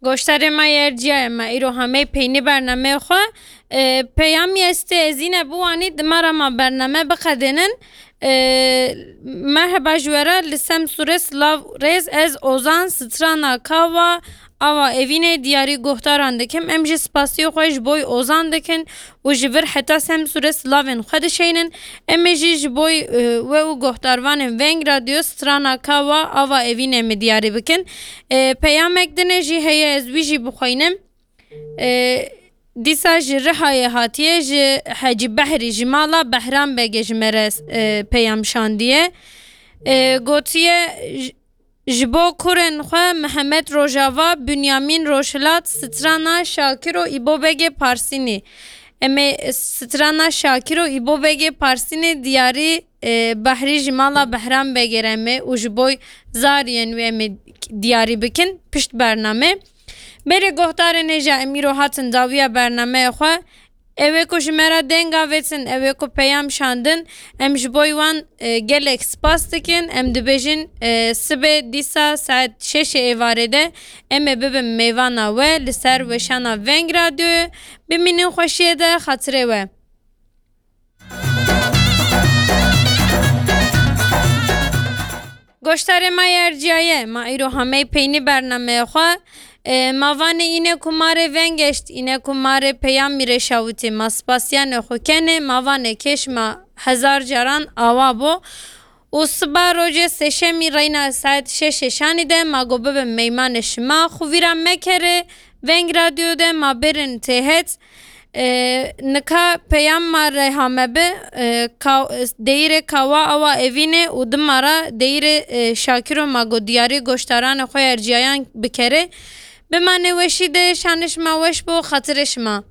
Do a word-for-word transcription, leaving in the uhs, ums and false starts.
Goştarê me yerciyaye me îro hemey peynî bernameyê xwe. E, peyamî estê ez îne biwanî di me re ma bername biqedênin. E, merheba ji we re li Semsûrê silav rêz ez Ozan strana Kawa Ava Evînê diyarî guhdaran dikim. Em jî spasiyê xwe ji boy Ozan dikin û ji vir heta Semsûrê silavên xwe dişeynin. Em ê jî ji boy, e, we û guhdarvanên Veng Radyo strana Kawa Ava Evînê me diyarî bikin. E, peyamek dinê jî heye ez wî jî bixweynim. E, dîsa ji Rihayê hatiye ji Hecî Behrî ji mala Behram Begê ji me re, e, peyam şandiye. E, gotiye, j-, ji bo kurên xwe Mihemed Rojava, Bünyamin Rojhilat, strana Şakiro Îbobegê Parsînî. Em ê strana Şakiro Îbobegê Parsînê diyarî, e, Behrî ji mala Behram Begê re me û ji boy zariyên wê em ê diyarî bikin pişt bername. Berê guhdarên hêja em îro hatin dawiya bernameya xwe. Ew ê ku ji me re deng avêtin, ew ê ku peyam şandin, em ji boy wan, e, gelek spas dikin. Em dibêjin, e, sibê dîsa saet şeşê êvarê de em ê bibin mêvana we li ser weşana Veng Radyoyê. Bimînin xweşiyê de, xatirê we. Goştarê me yerciyaye, ma îro hamey peynî bernameyê xwe. E, ma vanê îne ku ma rê vengeşt, îne ku ma rê peyamî rê şawitê, ma spasiyanê xwe kenê, ma vanê kêş ma hezar caran awa bo. Û siba rojê sêşemî reyna saet şeşê şanî de ma got bibin meymanê şima. Xwe vîra mekerê, Veng Radyo de ma bêrin têhet. E, nika peyam ma re hame bi, e, ka-, deyîrê Kawa Awa Evînê û dima ra deyîrê, e, Şakiro ma got diyarî goştaranê xwe erciyayan bikerê. Bimanê weşî de, şanê şima weş bo, xatirê şima.